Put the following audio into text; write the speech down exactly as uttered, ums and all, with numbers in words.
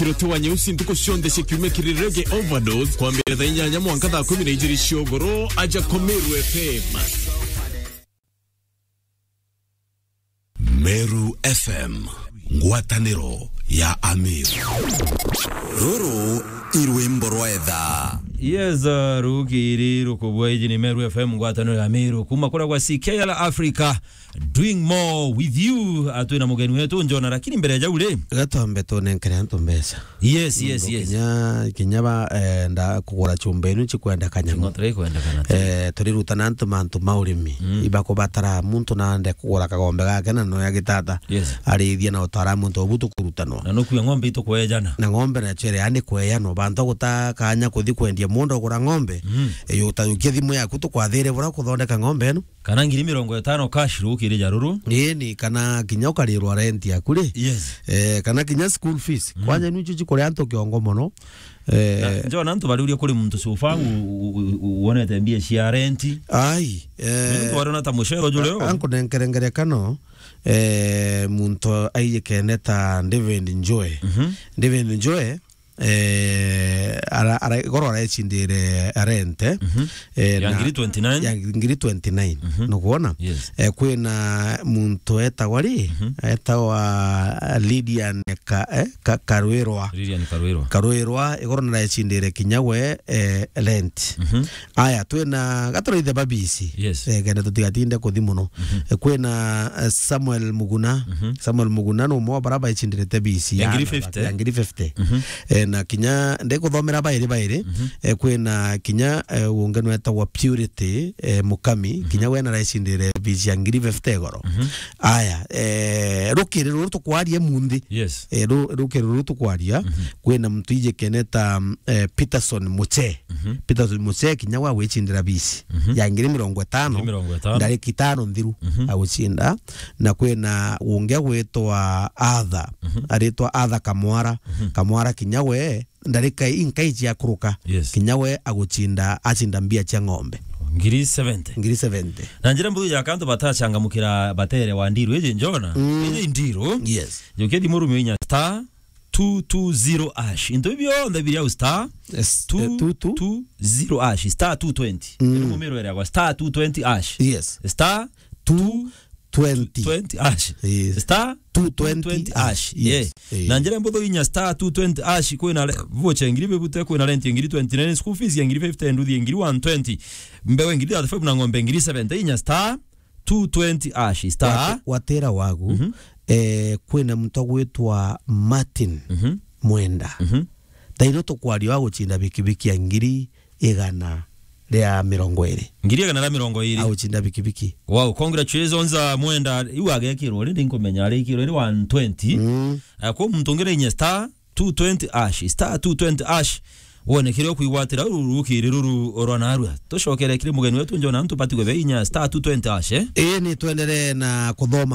Kirote wa nyeusi ntuku cionthe cia kiumia kiri Reggae Overdose, kwambira thaa inyanya mwanka thaa kumi na ijiri cia ugoro, aja kwa Meru F M. Meru F M, ngwataniro ya Ameru. Ruru i rwimbo rwa etha. Yes, uh, rukiri rukubwa iji ni Meru F M, ngwataniro ya Ameru. Kuma kuria gwa C K L Africa, Doing More With You, atwi na mugeni wetu Njona, lakini mbere ya jau ri, gatombe tunenkere antu mbeca. Yes, yes, yes. Kinya, kinya ba, eh, nda kugura chumba inu chikwendekana. Ching'oto ikwendekana. Eh, turirutana antu mantu ma urimi. Mm. Ibakubatara muntu nande kugura kagombe gake na noya gitata. Yes. Arithia na utara muntu ubu tukurutanwa. Na nukua ng'ombe itukwejana. Na ng'ombe na chere, yani kweyano. Bantu guta kanya kuthi kwendia mundu agura ng'ombe. Mm. Eh, yo utayukia thimu yaku tukwathire bura kuthondeka ng'ombe ino. Kana ngiri mirongo itano cash rukiri ja ruru. Ii, ni kana kinya ukarirwa rent yaku ri. Yes. Eh, kana kinya school fees. Mm. Kwanja nicio chikuria antu kiongo mono. Eh, na, Njona, antu bariuria kuri muntu so far u-, u-, u-, u-, wonete mbia cia rent. Ai, eh, nontu wariona ta mucero juri o. Ankunenkere ngerekano, eh, muntu aijikene ta David Njoe. Mhm. David Njoe, eh, ara-, ara-, igoro arecindire rent, eh, mhm, eh, ya na ngiri twenty nine. Ya ngiri twenty nine. Mhm. Nukwona? Yes. Eh, kwina muntu etagwa ri? Mhm. Etagwa Lydian Ka-, eh, Ka-, Karwirwa. Lydian Karwirwa. Karwirwa, igoro narecindire kinya we, eh, rent. Mhm. Aya, twina gaturaithe babisi. Yes. Eh, kenda tutigatinde kuthi muno. Mhm. Eh, kwina, eh, Samuel Muguna. Mhm. Samuel Muguna ni umwe wa bara baicindire te bisi ya ngiri fifty. Ya ngiri fifty. Mhm. Eh, na kinya ndikuthomera bairi bairi, mhm, eh, kwina kinya, eh, ungi nwetagwa Purity, eh, Mukami, mhm, kinya we naraicindire bisi ya ngiri fifty igoro. Mhm. Aya, eh, rukiri ruru tukwaria munthi. Yes. Eh, ru-, rukiri ruru tukwaria, mhm, kwina muntu ijikene ta, eh, Peterson Muche. Mhm. Peterson Muche kinya we agwicindira bisi, mhm, ya ngiri mirongo itano, ngiri mirongo itano, ndariki itano nthiru, mhm, agucinda. Na kwina ungi agwitwa Arthur, mhm, aritwa Arthur Kamwara. Mhm. Kamwara kinya we ndarika inkai cia kuruka, yes, kinya we agucinda, acinda mbia cia ng'ombe. Ngiri seventy. Ngiri seventy. Na njira mbuthu ya kantu batacangamukira batere wa ndiru iji, Njona. Mm. Iji ndiru. Yes. Jukia thimu rumio inya star two two zero hash. Into bionthe biri au star, yes, eh, two two two zero hash, star two twenty. Mm. Iri mumiro iri agwa star two twenty hash. Yes. Star two twenty. Twenty hash. Yes. Star two twenty hash. Yes. Yeah. Eh. Na njira mbuthu inya star two twenty hash, kwina re-, vocha ngiri bebute, kwina rent ngiri twenty nine, school fees ya ngiri fifty, nduthi ngiri one twenty. Mbewe ngiri thirty-five na ng'ombe ngiri seventy, inya star two twenty hash, star. Wate-, watera wagu, mhm, eh, kwina muntu agwitwa Martin, mhm, Mwenda. Mhm. Thaino tukwaria wa gucinda bikibiki ya ngiri igana ria mirongo iri. Ngiri igana ria mirongo iri. Agucinda bikibiki. Wow, congratulations, uh, Mwenda. Iu agekirwo ri, ndinkumenya arikirwo ri one twenty. Mm. Uh, kwa muntu ungi ri inya star two twenty hash, star two twenty hash. Wone kiria ukwigwatira ru-, rukiri ruru rwa narua. Tucokere kiri mugeni wetu Njona, antu bati gwetha inya star two twenty hash, eh? Ii, ni twenderee na kuthoma